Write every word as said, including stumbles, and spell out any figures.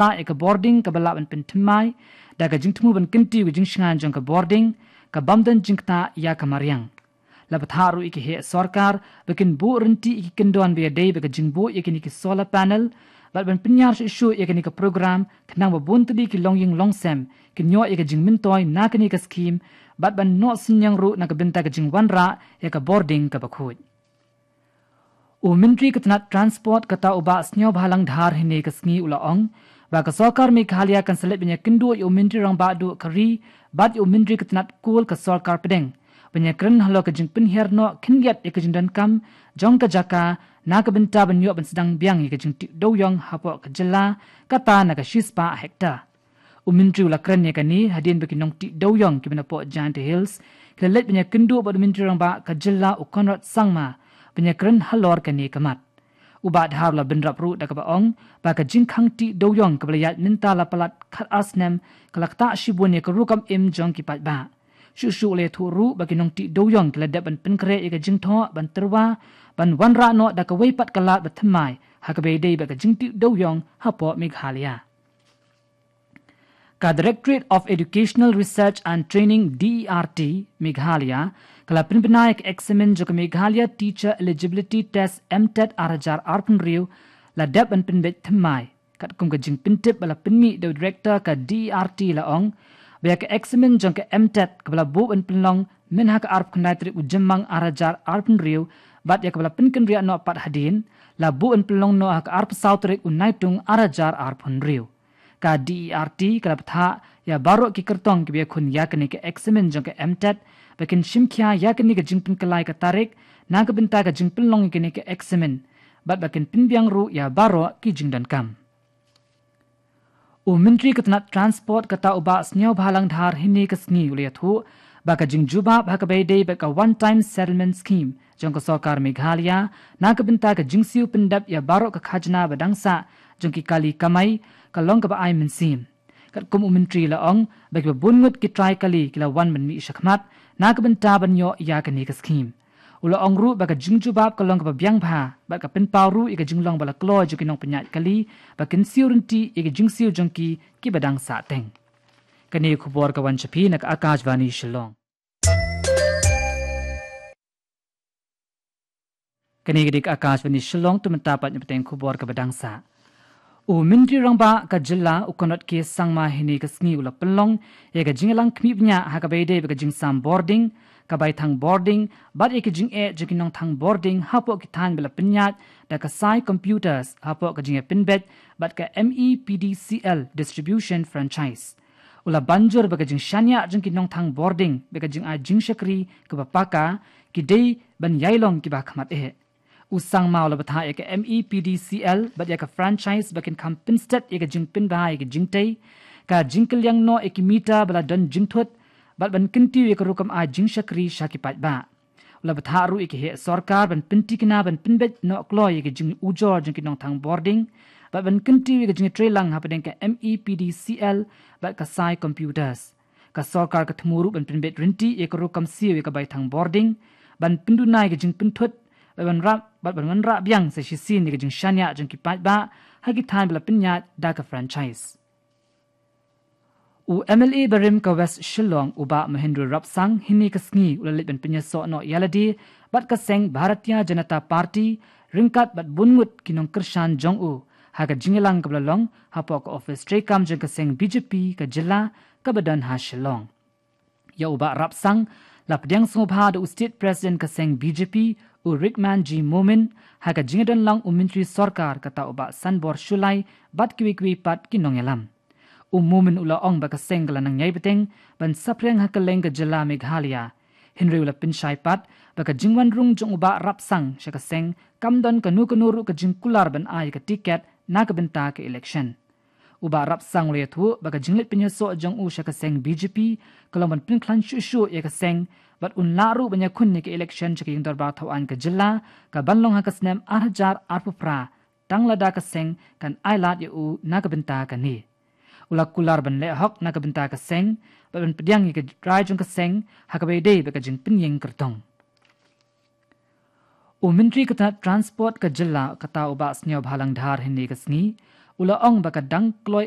ktah ïa ka bording kaba lah ban pynthymmai da ka jingthmu ban kyntiew ka jingshngaiñ jong ka bording ka bym don jingktah ïa ka mariang. La bthah ruh ïa ki heh sorkar ba kin buh rynti ïa ki kyndon ba ïadei bad ka jingbuh ïa kine ki solar panel bad ban pynïar shuh shuh ïa kane ka program khnang ba bun tylli ki longïing longsem kin ïoh ïa ka jingmyntoi na kane ka skhim bad ban noh synñiang ruh na ka bynta ka jingwanrah ïa ka bording kaba khuid. U Myntri ka tnat Transport kata u Bah Sniawbhalang Dhar hynne ka sngi u la ong ba ka sorkar Meghalaya kan sa leit ban ïakynduh ïa u Myntri Rangbah Duh ka ri bad ïa u Myntri ka tnat Coal ka sorkar pdeng ban ïakren halor ka jingpynhiar noh khyndiat ïa ka jingdonkam jong ka jaka na ka bynta ban ïoh ban sdang biang ïa ka jingtih dewiong hapoh ka jylla kata na ka shispah hektar. U Myntri u la kren ïa kane hadien ba ki nongtih dewiong kiba napoh Jaintia Hills ki la leit ban ïakynduh bad u Myntri Rangbah ka jylla u Conrad Sangma ban ïakren halor kane ka mat. U Bah Dhar u la bynrap ruh da kaba ong ba ka jingkhang tih dewiong kaba la ïaid mynta la palat khatar snem ka la ktah shibun ïa ka rukom im jong ki paidbah. Shuh shuh u la ïathuh ruh ba ki nongtih dewiong ki la dep ban pynkhreh ïa ka jingthoh ban tyrwa ban wanrah noh da kawei pat ka lad ba thymmai ha kaba ïadei bad ka jingtih dewiong hapoh Meghalaya. Ka Directorate of Educational Research and Training, D E R T, Meghalaya ka la pynbna ïa ka eksamin jong ka Meghalaya Teacher Eligibility Test, MTET, ar hajar arphew hynriew la dep ban pynbeit thymmai. Katkum ka jingpyntip ba la pynmih da u Director ka D E R T la ong ba ïa ka eksamin jong ka MTET kaba la buh ban pynlong mynha ka arphew khyndai tarik u Jymmang ar hajar arphew hynriew bad ïa kaba la pynkynriah noh pat hadien la buh ban pynlong noh ha ka arphew saw tarik u Naitung ar hajar arphew hynriew. Ka D E R T ka la bthah ïa baroh ki kyrtong kiba ïakhun ïa kane ka eksamin jong ka MTET ba kin shim khia ïa kane ka jingpynkylla ïa ka tarik na ka bynta ka jingpynlong ïa kane ka eksamin bad ba kin pynbiang ruh ïa baroh ki jingdonkam. U Myntri ka tnat Transport kata u Bah Sniawbhalang Dhar hynne ka sngi u la ïathuh ba ka jingjubab ha kaba ïadei bad ka One Time Settlement Scheme jong ka sorkar Meghalaya na ka bynta ka jingsiew pyndep ïa baroh ka khajna ba dang sah jong ki kali kamai ka long kaba ai mynsiem. Katkum u Myntri la ong ba kiba bun ngut ki trai kali ki la wan ban mih shakhmat na ka bynta ban ïoh ïa kane ka skhim. U la ong ruh ba ka jingjubab ka long kaba biang bha bad ka pynpaw ruh ïa ka jinglong ba la kloi jong ki nongpynïaid kali ba kin siew ryntih ïa ka jingsiew jong ki kiba dang sah teng. Kane ka khubor ka wan sha phi na ka Akashvani Shillong. Kane ka dei ka Akashvani Shillong, to mynta pat ngin ïa bteng khubor kaba dang sah. U Myntri Rangbah ka jylla u Conrad K Sangma hynne ka sngi u la pynlong ïa ka jingïalang khmih bniah ha kaba ïadei bad ka jingsam bording, ka baithang bording bad ïa ka jingeh jong ki nongthang bording hapoh ki thaiñ ba la pynïaid da ka Sai Computers hapoh ka jingïapynbeit bad ka MEPDCL Distribution Franchise. U la ban jur ba ka jingshaniah jong ki nongthang bording bad ka jingai jingshakri kaba paka ki dei ban ïai long kiba khmat eh. U Sangma u la bthah ïa ka MEPDCL bad ïa ka franchise ba kin kham pynstet ïa ka jingpynbha ïa ka jingtei, ka jingkylliang noh ïa ki meter ba la don jingthut bad ban kyntiew ïa ka rukom ai jingshakri sha ki paidbah. U la bthah ruh ïa ki heh sorkar ban pynthikna ban pynbeit noh kloi ïa ka jingujor jong ki nongthang bording bad ban kyntiew ïa ka jingtreilang hapdeng ka MEPDCL bad ka Sai Computers. Ka sorkar ka thmu ruh ban pynbeit ryntih ïa ka rukom siew ïa ka baithang bording ban pynduna ïa ka jingpynthut bad ban rah bad ban wanrah biang sa shisien ïa ka jingshaniah jong ki paidbah ha ki thaiñ ba la pynïaid da ka franchise. U MLA barim ka West Shillong u Bah Mahendra Rapsang hynne ka sngi u la leit ban pynïasoh noh ïalade bad ka seng Bharatiya Janata Party ryngkat bad bun ngut ki nongkyrshan jong u ha ka jingïalang kaba la long hapoh ka ophis treikam jong ka seng BJP ka jylla kaba don ha Shillong. Ïa u Bah Rapsang la pdiang sngewbha da u State President ka seng BJP u Rickman G Momin ha ka jingdon lang u Myntri Sorkar kata u Bah Sanbor Shullai bad kiwei kiwei pat ki nongïalam. U Momin u la ong ba ka seng ka la nang ïai bteng ban saphriang ha kylleng ka jylla Meghalaya. Hynrei u la pynshai pat ba ka jingwan rung jong u Bah Rapsang sha ka seng kam don kano kano ruh ka jingkular ban ai ka tiket na ka bynta ka election. U Bah Rapsang u la ïathuh ba ka jingleit pynïasoh jong u sha ka seng BJP ka long ban pynkhlaiñ shuh shuh ïa ka seng bad un lah ruh ban ïakhun ïa ka election sha ka ïing dorbar thaw aiñ ka jylla ka ban long ha ka snem ar hajar arphew phra tang lada ka seng kan ailad ïa u na ka bynta kane. U la kular ban leh hok na ka bynta ka seng bad ban pdiang ïa ka rai jong ka seng ha kaba ïadei bad ka jingpynïeng kyrtong. U Myntri ka tnat Transport ka jylla kata u Bah Sniawbhalang Dhar hynne ka sngi u la ong ba ka dang kloi